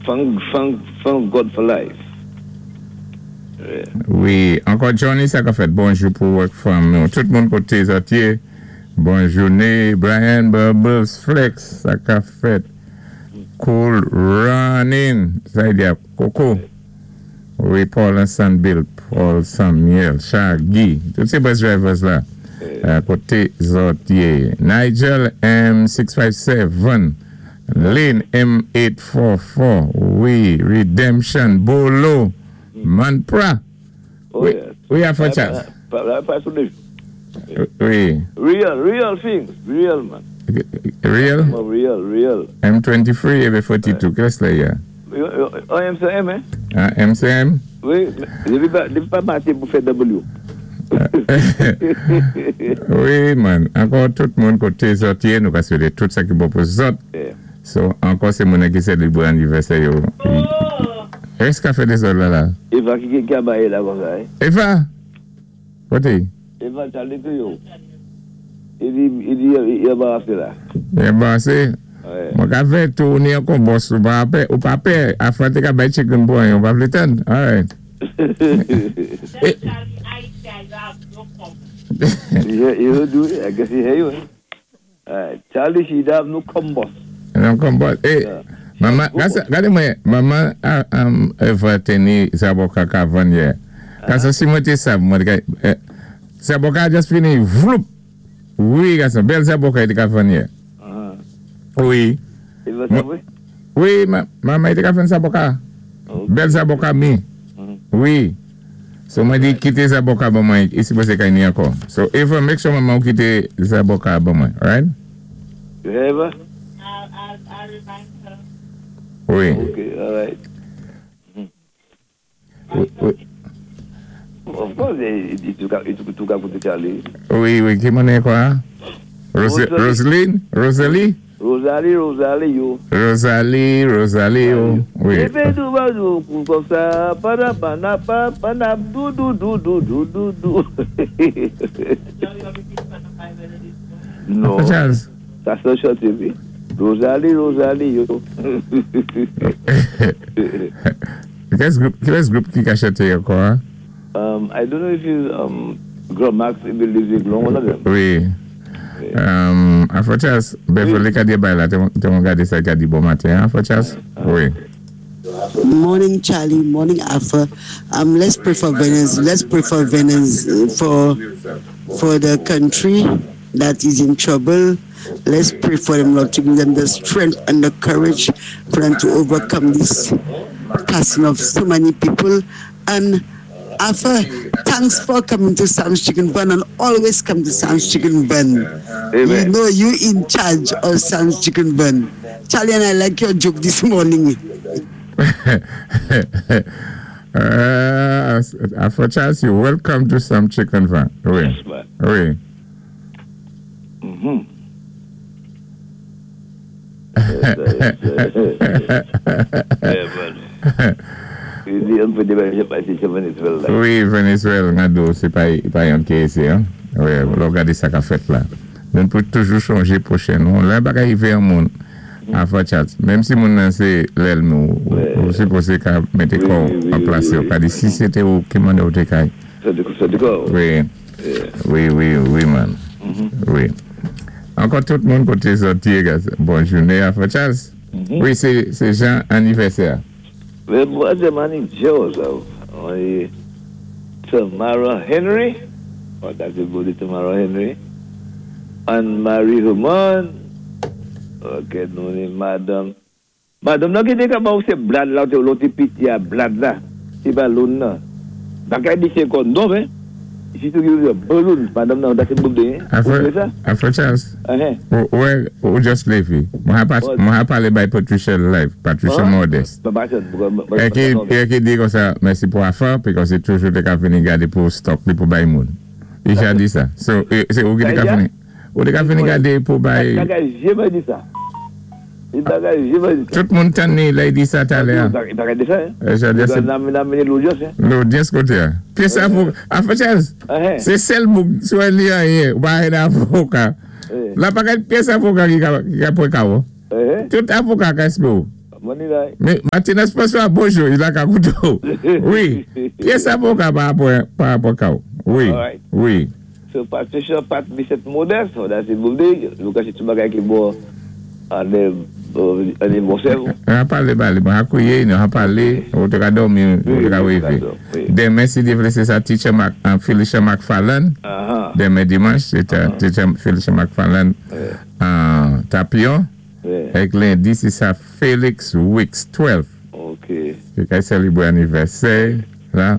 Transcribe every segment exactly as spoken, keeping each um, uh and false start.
Thank, thank, thank God for life. Yeah. Wi, ankò Johnny, sa ka fèt bonjou pou work from nou. Tout moun koté zòt yé. Bon jouné, Brian Bubbles Flex, sa ka fèt. Cool running. Sa y di Coco. Wi, Paul and Bill, Paul Samuel, Shaggy. Tout sé bus drivers la. Euh, koté zòt yé. Nigel M six five seven. Lynn M eight four four. Wi, Redemption, Bolo, Manpra. Oh, Wi, yes. wi, Afro Charles. Pa, pa, pa sou lé- Wi. Real, real things. Real, man. Real? Oh, real, real. M twenty-three et B forty-two. Qu'est-ce que c'est là? Oh, M C M, hein? Ah, M C M? Wi, dépi pa, dépi pa matin pou fè W. Wi, man. Ankò tout moun koté zòt yé, nou ka swété tout sa ki bon pou zòt. Yeah. So, ankò sé moun ki sélébwé anivèsè yo. Ès ka fè dézòd la la? Eva ki ki a bayé la kon sa, hein? Eva? Koté? Eva, Charlie tou yo. I di, i di, i anbarasé la. Anbarasé? Ouais. Mwen ka fè tourner an kon boss ou pa pè, ou pa pè, afin te ka bay chicken pou an, ou pa vlé tann. All right. Eh. You, you do it. I guess he hear you, eh? Alright. Charlie, she have no combos. Non kon boss. Eh, Yeah. Manman, gade mwen, manman um, Eva teni zaboka ka vann yè. Gason, si mwen té sa, mwen ka, eh, zaboka just fini, vloup. Wi, gason, bèl zaboka i té ka vann yè. Uh-huh. Wi. Eva, sa vwé? Wi, ma, manman i té ka vann zaboka. Okay. Bèl zaboka mi. Mhm. Wi. So mwen di kité zaboka ban mwen, isi pwé sé kay ni ankò. So Eva, make sure manman ou kité zaboka ban mwen, alright? You hear Eva? I'll, I'll, I'll remind her. Wi. Okay, all right. Wi, wi. Of course, eh, i tou ka, i tou tou ka kouté Charlie. Wi, wi, ki mwen kwa? Rose, Rosalie. Roseline? Rosalie? Rosalie, Rosalie, yo. Rosalie, Rosalie, yo. Wi. Ebe dou ba dou, kou kon sa, pa da pa na pa, pa na dou dou dou dou dou dou dou. Charlie, you repeat for the five melodies. Non, Charles. Sa sé chanté, wi. Rosalie, Rosalie, yo. Kès gwoup, kès gwoup ki ka chanté ankò, hein? Um, I don't know if it's um, Grand Max, Emile Leglon, one of them. Wi. Um, Afro Charles, Beverly ka di bay la, té mwen gadé sa ka di bon maten, hein, Afro Charles? Wi. Morning, Charlie. Morning, Alpha. Um, let's pray for Venezuela. Let's pray for Venezuela, for for the country that is in trouble. Let's pray for them, Lord, to give them the strength and the courage for them to overcome this passing of so many people. And Alpha, thanks for coming to Sam's Chicken Bun and always come to Sam's Chicken Bun. You Amen. know you in charge of Sam's Chicken Bun. Charlie and I like your joke this morning. uh, Afro Charles, you're welcome to some chicken van. Wi. Yes, man. Wi. Mm-hmm. Yeah, man. I di, an pé déba, pa sé Venezuela. Wi, Venezuela, gado, sé pa, pa yon ki ézé, hein? Wi, lò gadé sa ka fèt la. Nou pou toujou chonjé pwochen nou. Lè bagay rivé an moun, Afro Charles, menm si moun nan sé lèlmi ou, ou sipozé ka mété kò an plas yo. Ka di si sé té ou ki mande ou té kay. Sa di sa di kò. Wi, wi, wi, wi, man. Wi. Ankò tout moun koté zòt yé, guys. Bon jouné, Afro Charles. Wi, sé sé Jean anivèsè. Mais moi, c'est Manny Joseph. On Tamara Henry. Oh, that's a good Tamara Henry. Anne Marie Herman. Ok, nou ni madame. Madame nan ki te ka ba ou se blad la, ou lòt piti a blad la. Se pa loun nan. Bagay di se kon non, hein? Si tu give a balloon, madame nan, that's a birthday, hein? Ou Afro, fè sa? Afro Charles. Uh-huh. Ou, ouais, ou just lèvé. Mwen pa, mwen palé bay Patricia live, Patricia Huh? Modeste. Pa pa E ki, e ki di kon sa, mèsi pou afa, because se toujou te ka vini gade pou stock li pou bay moun. I ja di sa. So, e, se ou ki te ka Sa vini, ou te ka vini gade pou bay, Bagay jeme di sa. I bagay jeme di sa. Tout moun tan ni lè di sa talè a. I bagay di sa, hein? E ja di se, Nan nan mene l'audience, hein? L'audience kote a. Pi sa avoka, Afro Charles, Uh-huh. se sel bouk sou li a ye, ou pa hen avoka. Eh. La pa kat pyès avoka ki ka, ki ka pwe ka ou. Eh, Tout avoka ka espè ou. Money là. Mais Martinez François, bonjou, i la ka kouté. Wi. Pyès avoka pa rapò pa rapò ka. Wi. All right. Wi. So Patricia Pat Bissett Modeste, that's it birthday. Nou ka sé bagay ki bon an an bon sèvo. An palé, palé, bon, akouye, nou an palé, ou té ka dòmi, ou té ka wévé. Wi. Denmen, si Dye vlé, sé sa teacher Mac, um, Felicia McFarlane. Uh-huh. Denmen dimanch, sé ta- teacher Felicia McFarlane, uh, Tapion. Wi. Èk lendi, sé sa Felix Wicks, twelve. OK. Ki ka sélébwé anivèsè, la.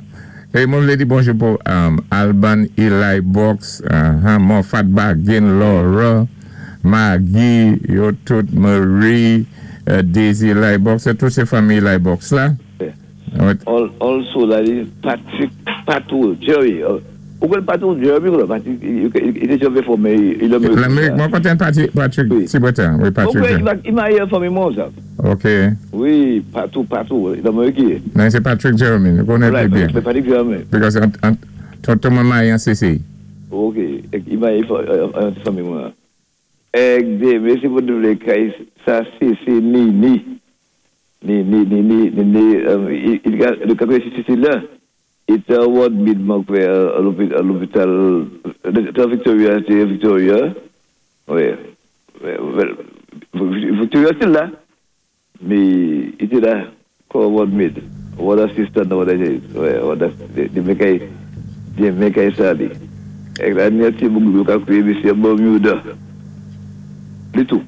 É mwen vlé di bonjou pou um, Alban Eli Box, uh, Moffat Bargain, Laura, Maggie, yo tout, Marie, uh, Daisy Eli Box, c'est tout sé fanmi Eli Box la. Yeah. Ouais. Al- Also, that is Patrick Patou, Jerry. Uh, Ou konn Patou, Jerry, quoi, Patrick, il il était jamais formé, il a L'Amérique, mwen kontan Patrick, Patrick Wi. Tibotin, wi, Patrick. Ok, i ma i fanmi mwen, sa. Ok. Wi, Patou, Patou, l'Amérique. Non, sé Patrick Jeremy, nou konnèt Right, byen. Patrick Jeremy. Because an, an, tonton mwen marye an C C. Ok, i ma fanmi mwen. Èk dé, mési pou doublé kay, sa sé sé ni ni. Ni ni ni ni ni ni um, i i le quatre-vingt-six la, i té ward mid mwen kwè à l'hôpital à l'hôpital de Victoria, c'est Victoria. Oui. Victoria c'est là. Mais il était là comme ward mid. Ward assistant ward ouais, ward di mekay di mekay sa li. Èk la merci beaucoup ka kwé monsieur Bermuda. Li tou.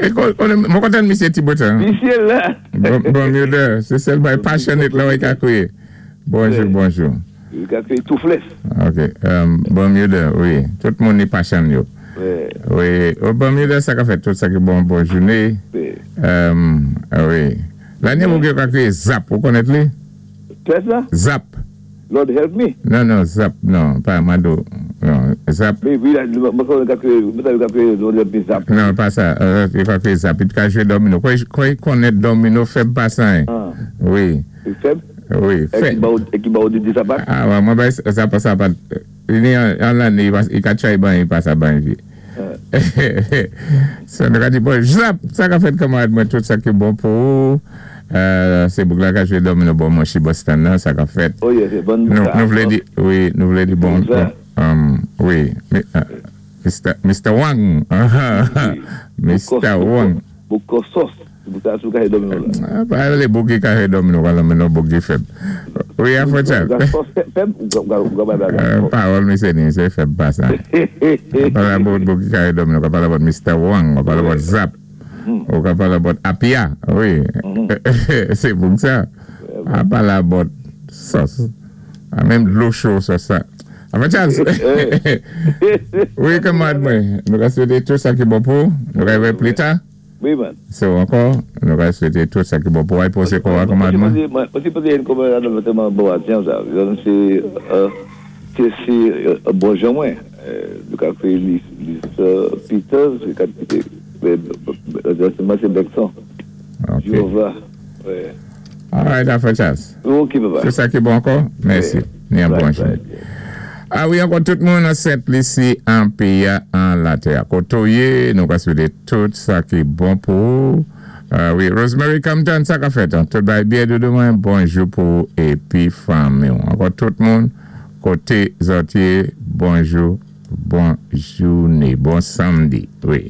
É mwen kontan misyé Tibotin. Misyé la. Bon, Bermuda, sé sèl bay passionate la wè ka kwé. Bonjou, bonjou. I ka kwé toothless. Ok, um, Bermuda, wi. Tout moun ni passion yo. Wi. Wi, oh, Bermuda, sa ka fèt tout sa ki bon, bon jouné. Wi. Um, wi. Lani mwen ka kwé Zap, ou konnèt li? Kès la? Zap. Lord help me. Non, non, Zap, non, pa Mado. Non, Zap. Wi, wi, mwen konn ka kwé, mwen ka kwé Lord help me Zap. Non, pa sa, euh, i ka kwé Zap. I ka jwé domino. Kwa kwa i konnèt domino fèb pa sa, hein? Ah. Wi, Fèb? Wi, É ki fèb. ba ou é ki ba ou di di sapat? Ah, ouais, mwen bay sa pa sa pa. Ni an an l'année, i ka tchay ban, i pa sa ban vi. So, nou ka di, bon, Zap, sa ka fèt kamarad mwen, tout sa ki bon pou ou. Euh, sé boug la ka jwé domino bon mwen chi Boston nan, sa ka fèt. Oh yeah, c'est bon. Nou, nou vlé di, wi, nou vlé di bon, Sa. um, wi, mi- uh, Mister Mister Wang, Mister Wang. Beaucoup sauce. Beaucoup sou ka domino la. Ah, pa lé boug ki ka jwé domino, wala men nou boug ki fèb. Wi, a fò chat. Ga sauce fèb ou ga ga ga ga. Euh, Pawòl mi sé ni, sé fèb pa sa. Pale about boug ki ka jwé domino, ka pale about Mister Wang, ka pale about Zap, ou ka pale about Apia, wi. Sé boug sa. A pale about sòs. A menm dlo cho sòs sa. A fò Charles. Wi, kamarad mwen, nou ka swété tout sa ki bon pou, nou ka wè pli ta. Wi, man. So, ankò, nou ka swété tout sa ki bon pou, ay posé kwa kamarad mwen. Mwen si posé yon kamarad mwen bon atyen sa. Yon sé euh sé sé bon jan mwen. Nou ka kwé Lisa Peters, ka mais c'est Bergson. Ok. Jéhovah. Ouais. All right, a fò Charles. Ok, papa. Tout sa ki bon ankò? Mèsi. Ni an bon jounen. Ah wi, ankò tout moun an Sent Lisi, an péyi an latè. Kotoye, nou ka swété tout sa ki bon pou ou. Ah wi, Rosemary Compton, sa ka fèt. Tout bay byen doudou mwen, bonjou pou épi fanmi. Ankò tout moun, koté zòt yé, bonjou, bon jouné, bon samdi. Wi.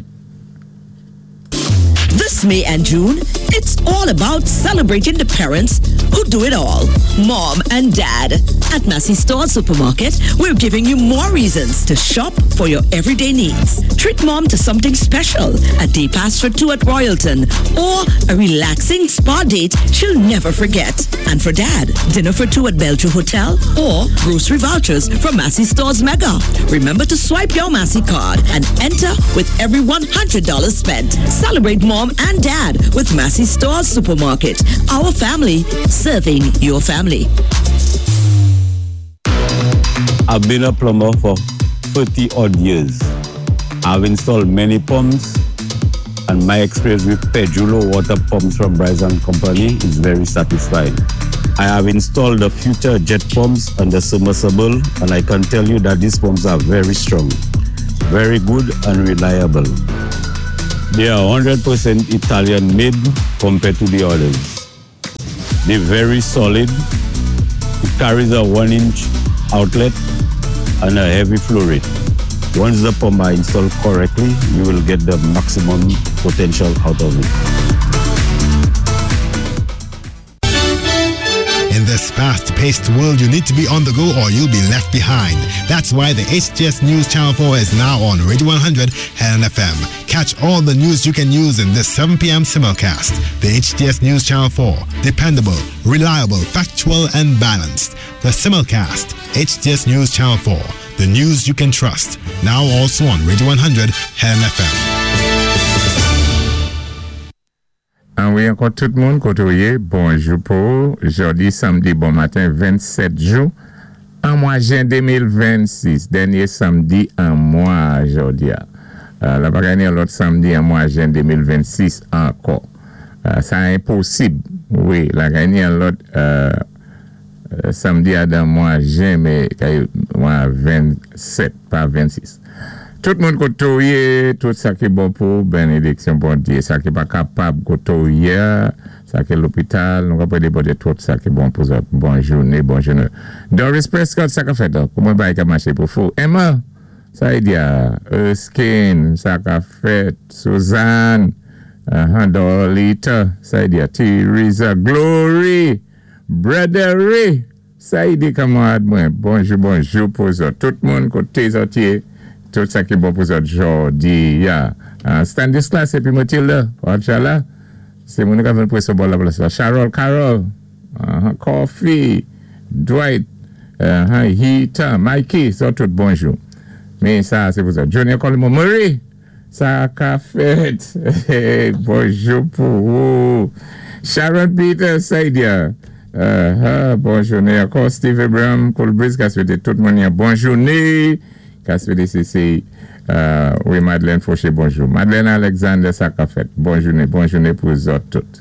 This May and June, it's all about celebrating the parents who do it all. Mom and Dad. At Massy Store Supermarket, we're giving you more reasons to shop for your everyday needs. Treat mom to something special, a day pass for two at Royalton, or a relaxing spa date she'll never forget. And for Dad, dinner for two at Belgium Hotel or grocery vouchers from Massy Stores Mega. Remember to swipe your Massy card and enter with every one hundred dollars spent. Celebrate mom and dad with Massy Stores Supermarket. Our family serving your family. I've been a plumber for thirty odd years. I've installed many pumps and my experience with Pedrulo water pumps from Bryson Company is very satisfying. I have installed the future jet pumps and the submersible, and I can tell you that these pumps are very strong, very good and reliable. They are one hundred percent Italian made compared to the others. They're very solid. It carries a one inch outlet and a heavy flow rate. Once the pump are installed correctly, you will get the maximum potential out of it. In this fast-paced world, you need to be on the go or you'll be left behind. That's why the H T S News Channel four is now on Radio one hundred Helen F M. Catch all the news you can use in this seven p m simulcast. The H T S News Channel four, dependable, reliable, factual, and balanced. The simulcast, H T S News Channel four, the news you can trust. Now also on Radio one hundred Helen F M. An wi, ankò tout moun koté ou yé, bonjou pou jòdi sanmdi bon maten vennsèt jen an mwa jen de mil vennsis, dènyé sanmdi an mwa jòdi a. Euh, la pa genyen lòt sanmdi an mwa jen de mil vennsis ankò. Euh, sa enposib, wi, la genyen lòt euh, euh, sanmdi a dan mwa jen, mé kay mwa vennsèt, pa vennsis. Tout moun koté ou yé, tout sa ki bon pou, bénédiksyon Bondyé, sa ki pa kapab koté ou yé, sa ki lopital, nou ka pwédé Bondyé tout sa ki bon pou zòt. Bon jouné, bon jouné. Doris Prescott, sa ka fèt, kouman bagay ka maché pou fou? Emma, sa y di a, Erskine, sa ka fèt, Suzanne, uh, Dolita, sa y di a, Teresa, Glory, Brother, sa y di kanmarad mwen, bonjou, bonjou pou zòt. Tout moun koté zòt yé, tout sa ki bon pou zòt jòdi ya. Uh, Stanislas épi Matilda, la, sé moun ka vin pwé bò la plas la. Charol Carol, uh, Coffee, Dwight, uh, Hita, Mikey, zòt tout bonjou. Mé sa, sé pou sa. Johnny Colimo Murray, sa ka fèt. Bonjou pou ou. Sharon Peter Saidia, uh, uh, bon jouné ankò. Steve Abraham, Colbridge, ka swété tout moun yon bon jouné. Ka swété sé sé euh, wi, Madeleine Fauché, bonjou. Madeleine Alexander, sa ka fèt. Bon jouné, bon jouné pou zòt tout.